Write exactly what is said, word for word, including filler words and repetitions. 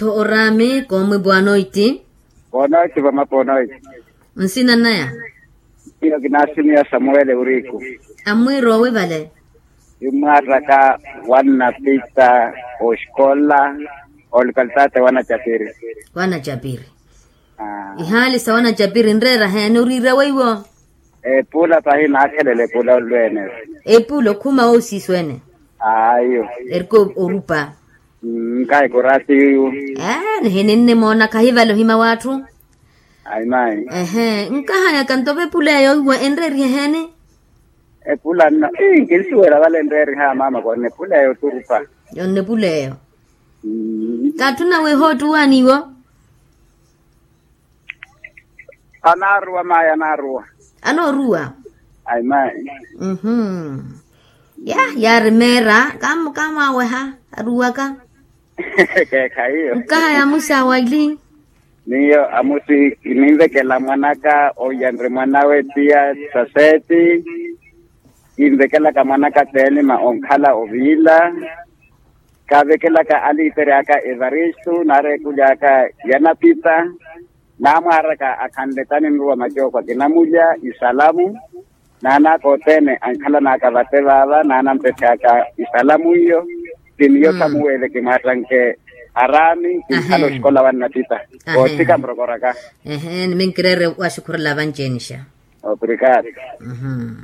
Tho oraami koomwe bwanoiti. Bwanoiti vamaponoiti. Nsina naya? Iyo kinasimiya samuwele uriku. Amwirowe vale? Imwaaraka wanna pita oxikola, olukalitate wanacapiri. Wanacapiri. Ihaali sa wanacapiri nreera heene oriira weiwo? Epuula pahi naakhelela epuula olweene. Epuula okhuma woosiisweene? Ayo. Eriko orupa. Nkahi koraatiyu. Nihinimmoona khahi vale ohima w'atthu. Ayi mayi. Ehe nkahayaka nto vepula eyo iwe enreerihe heene? Epula nno ii nkinsuwela vale enreeriha maama konna epula eyo turupa. Yonna epula eyo. Katthuna weeha ottuwaani iwo? Anaaruwa mayi anaaruwa. Anooruwa? Ayi mayi. Mhm. Ya yaari meera. Kamwaaweha aruwaka? Keekha iyo. Nkahaya amusi awaili. Miyo amusi kininvekela mwanaka oyanre mwanawe tiya saseeti. Kinvekelaka mwanaka teenima onkhala oviila. Kavekelaka aliitere aka evaristu naareekulyaka yanapita. Naamwaaraka akhanle taninruwa macooko akinamulya isalamu. Naanaka othene ankhalanaka vate vaava naanampethyaka isalamu iyo. Ti miyo samuwele kimwaattanke araami kinkhala oxikola wannattitta. Koothika murokoraka. Ehe niminkireere waxukhurela vanci enixa. Obrigado. Mhm.